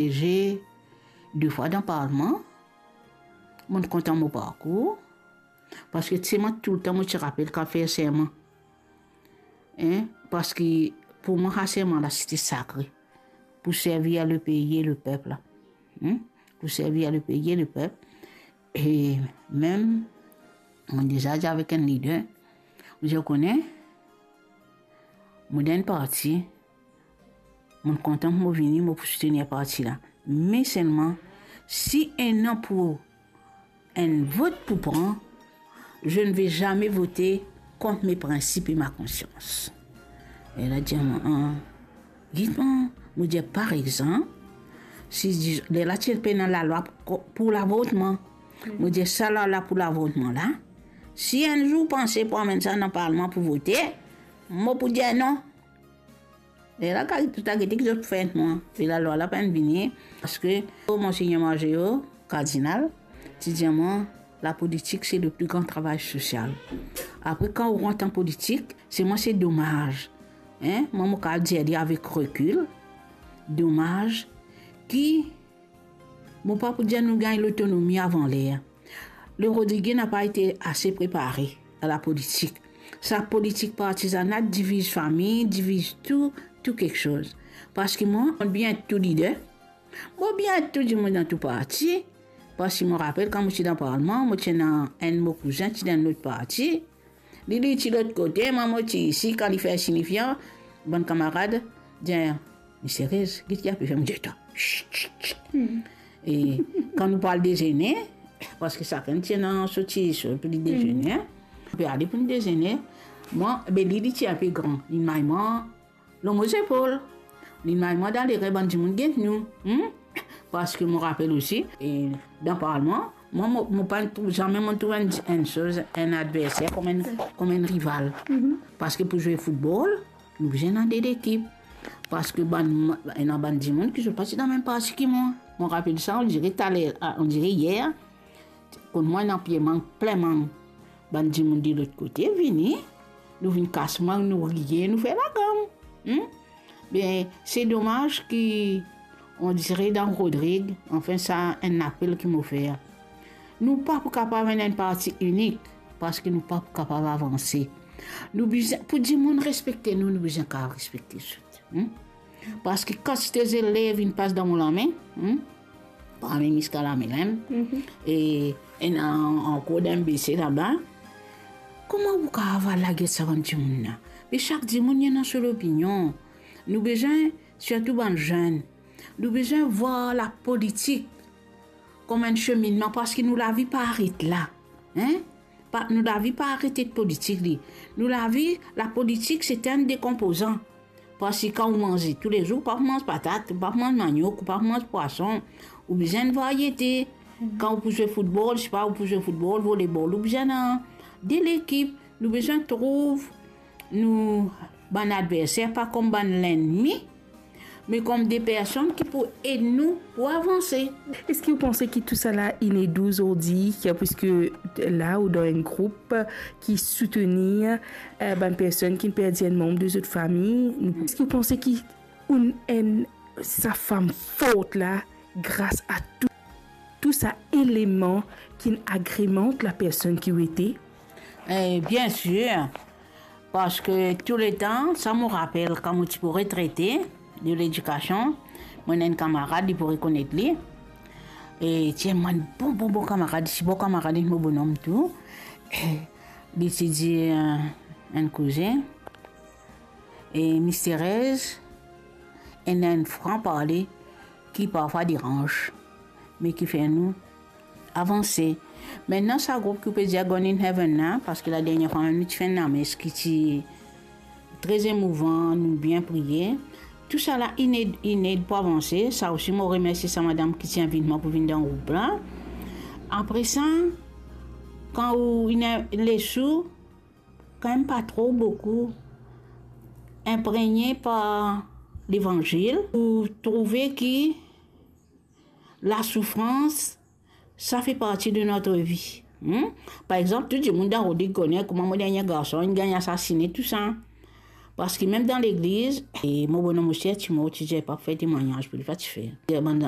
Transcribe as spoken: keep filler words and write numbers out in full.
Sieze de fwa dan parlman, mo kontan mo parkour, parski ti mwa toultan mo ti rapel kan fer serman. Hein? Parski pou mwa, sa serman la, sete sakre. Pou servir lepei e lepep la. Hein? Pou servir lepei e lepep. E mem, mo deza dir avek enn lider, mo dir, ou kone, mo dan enn parti, mo kontan mo vini, mo pou soutenir parti la. Me selman, si ena pou enn vot pou pran, je ne vais jamais voter contre mes principes et ma conscience. E la dir mwa, ah, gete mwa, mo dir, par exanp, si di-, lerla ti pena lalwa pou, pou lavotman, mo dir, sa lalwa pou lavotman la, si enn zour panse pou amenn sa dan parlman pou vote, mo pou dir non. Lerla, ka-, to ta gete ki zot fer mwa. E lalwa la pa'nn vini, parski, oh, Monsegner Margeo, kardinal, ti dir mwa, lapolitik, se le pli gran travay sosial. Apre, kan ou rant an politik, selman se domaz. Hein? Mwa, mo kapav dir li avek rekil, domaz ki Mo pa pou dir nou gagn lotonomi avan ler. Le Rodriguien n'a pas été assez préparé à la politique. Sa politik partizana diviz fami, diviz tou, tou kiksoz. Parski mwa, mo bien tou lider. Mo bien tou dimoun dan tou parti. Parski mo rapel kan mo ti dan parlman, mo ti ena enn mo kouzin, ti dan enn lot parti. Li, li ti lot kote, mwa mo ti isi, kan li fer sinifian, bann kamarad dir, "Misterez, ki ti ape fer?" Mo dir, "Twa, shh, shh, shh." E kan nou pou al dezene, parski sakenn ti ena so ti, so pou li dezene, hein. Nou pe ale pou nou dezene. Mwa, be li, li ti inpe gran. Li may mwa lor mo zepol. Li may mwa dan lerin bann dimoun get nou. Hmm? Parski mo rapel osi, e dan parlman, mwa, mo, mo pa trouv, zame mo trouv enn, enn soz, enn adverser kom enn, kom enn rival. Parski pou zwe foutbol, nou bizin ena de lekip. Parski bann, ena bann dimoun ki zot pa ti dan mem parti ki mwa. Mo rapel sa, on dirait taler, ah, on dirait hier, kot mwa ena pie mang, plin mang. Bann dimoun de lot kote vini, nou vinn kas mang, nou riye, nou fer lagam. Hmm? Be, se domaz ki, on dirait dan Rodrig, anfin, sa enn apel ki mo fer. Nou pa pou kapav ena enn parti inik, parski nou pa pou kapav avanse. Nou bizin, pou dimoun respekte nou, nou bizin kapav respekte zot. Hmm? Parski kantite zelev inn pas dan mo lame, hmm? Parmi ziska lame la mem. Mhm. E ena ankor dan bese laba. Kouma ou kapav al lager sa bann dimoun la? Me sak dimoun ena so lopinion. Nou bizin, sirtou bann zenn, nou bizin vwar lapolitik kom enn seminnman, parski nou lavi pa aret la. Hein? Pa, nou lavi pa aret ek politik li. Nou lavi, lapolitik, se enn de konpozan. Parski kan ou manze toulezour, ou pa pou manz patat, ou pa pou manz maniok, ou pa pou manz pwason, ou bizin enn varyete. Kan ou pou zwe foutbol, sipa ou pou zwe foutbol, volebol, ou bizin ena de lekip. Nou bizin trouv nou bann adverser pa kom bann lennmi, me kom de personn ki pou ed nou pou avanse. Eski ou panse ki tousala inn ed ou zordi, ki, puiske la ou dan enn group ki soutenir, eh, bann personn ki perdi enn manb de zot fami? Eski ou panse ki ou enn sa fam for la, gras a tou, tou sa eleman ki agremant lapersonn ki ou ete? Eh, bien sir, parski touletan, sa mo rapel, kan mo ti pou retrete de ledikasion, mo ena enn kamarad, li pou rekonet li. E ti enn bann bon, bon, bon kamarad, si bon kamarad, enn mo bonom tou. E li ti dir, eh, enn kouzin, e Miss Thérèse, ena enn fran parle ki parfwa deranz, me ki fer nou avanse. Mintnan, sa group ki ou pe dir Gone in Heaven la, parski ladernie fwa mem nou ti fer enn lames ki ti tre emouvan, nou bien priye. Tousala inn ed, inn ed pou avanse. Sa osi, mo remersie sa madam ki ti invit mwa pou vinn dan group la. Apre sa, kan ou inn les ou, kan mem pa tro boukou, inpregne par Levanzil, ou trouve ki lasoufrans, sa fe parti de notre vie. Hmm? Par exanp, tou dimoun dan Rodrig kone kouma mo dernie garson inn gagn asasine, tousa. Parski mem dan legliz, e mo bonom osi ti mor, ti dir pa fer temwagnaz pou li, pa ti fer. E bann